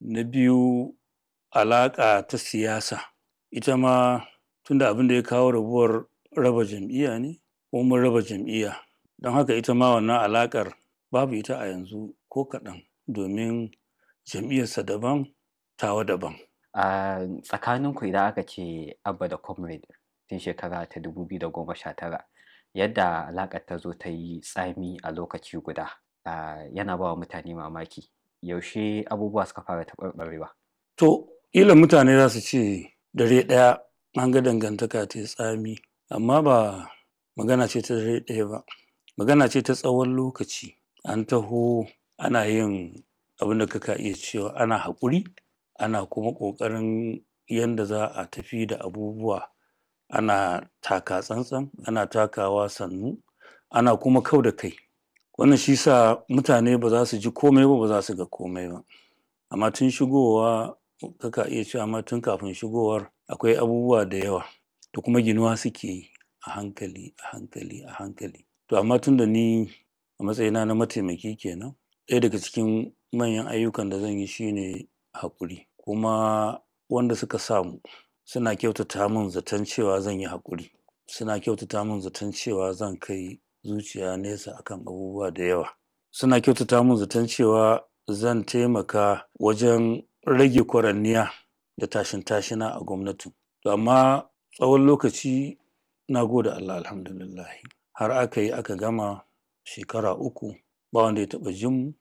Na biyu, alaƙa ta siyasa. Ita ma tunda abin da ya kawo rabuwar raba jam'iyya ne, ko mun raba jam'iyya. Don haka ita ma wannan alaƙar babu ita a yanzu ko kaɗan domin jam'iyyarsa daban, tawa daban. A tsakaninku idan aka ce Abba da Comrade tun shekara ta 2019, yadda alaƙar ta zo ta yi tsami a lokaci guda, yana ba wa mutane mamaki. Yaushe abubuwa suka fara taɓarɓarewa? To, ƙila mutane za su ce dare ɗaya an ga dangantaka ta yi tsami, amma ba magana ce ta dare ɗaya ba. Magana ce ta tsawon lokaci. An taho ana yin abin da kaka iya cewa ana haƙuri, ana kuma ƙoƙarin yanda za a tafi da abubuwa. Ana taka tsantsan, ana takawa sannu, ana kuma kau da kai. Wannan shi sa mutane ba za su ji komai ba, ba za su ga komai ba. Amma tun shigowa kaka iya cewa ma tun kafin shigowar akwai abubuwa da yawa da kuma ginuwa suke yi a hankali, a hankali, a hankali. To amma tun da ni a matsayina na mataimaki kenan, ɗaya daga cikin manyan ayyukan da zan yi shine haƙuri. Kuma wanda suka samu suna kyautata mun zaton cewa zan yi haƙuri. Suna kyautata mun zaton cewa zan kai zuciya nesa akan abubuwa da yawa. Suna kyautata mun zaton cewa zan taimaka wajen rage kwaranniya da tashin-tashina a gwamnatin. To amma tsawon lokaci na gode Allah alhamdulillahi. Har aka yi aka gama shekara 3 ba wanda ya taɓa jin mu,